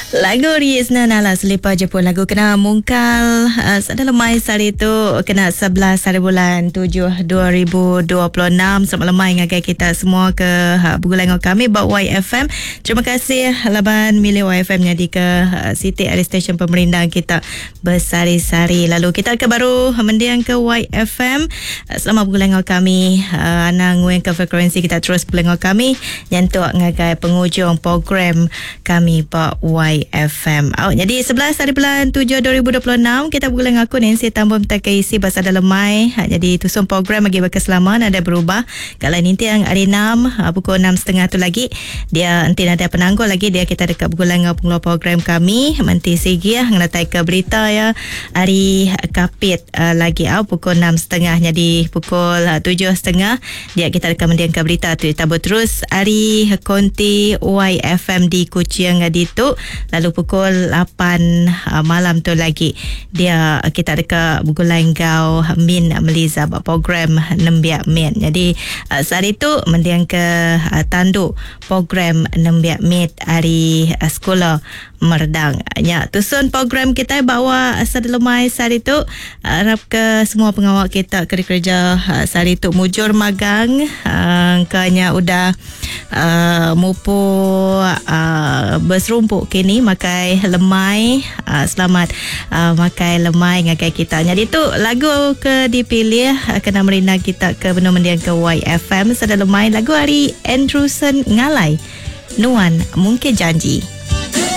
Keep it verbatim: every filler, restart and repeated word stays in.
Lagu Riesna Nala Selipar Jepun, lagu kena mungkal uh, sada lemai sehari tu kena sebelas hari bulan tujuh dua ribu dua puluh enam. Selamat lemai ngagai kita semua ke uh, bergulai dengan kami ba Y F M. Terima kasih laban milih Y F M jadi ke uh, Siti Ari Station pemerindang kita bersari-sari. Lalu kita ke baru mendiang ke Y F M. Uh, selamat bergulai dengan kami. Uh, anang nguing ke frekuensi kita terus bergulai dengan kami nyentuk ngagai penghujung program kami ba Y F M. Oh, jadi sebelas hari bulan tujuh dua ribu dua puluh enam kita bergulai dengan aku Nancy Tambun tak isi bahasa dalam mai. Ha, jadi tusung program bagi berkeselama ada berubah. Kalau nanti yang hari enam, ha, pukul enam setengah tu lagi dia nanti ada penanggul lagi dia kita dekat bergulai dengan pengeluar program kami Menti Sigi ya ngatai ke berita ya hari Kapit uh, lagi au pukul enam setengah. Jadi pukul tujuh setengah dia kita dekat mendiang ke berita tu kita terus hari konti Y F M di Kuching di tu. Lalu pukul lapan uh, malam tu lagi dia kita dekat bergulai ngau Min Meliza buat program Nembiak Mit. Jadi uh, sehari tu mendiang ke uh, tanduk program Nembiak Mit hari uh, sekolah Merdang. Ya, tusun program kita bawa sedelumai sehari tu harap ke semua pengawal kita kerja-kerja uh, sehari tu mujur magang uh, kanya udah uh, mupu uh, berserumpuk kini makai lemai uh, selamat uh, makai lemai ngagai kita. Jadi tu lagu ke dipilih uh, kena merindang kita ke benar mendiang ke Y F M sedelumai lagu hari Andrewson Ngalai Nuan Mungkin Janji.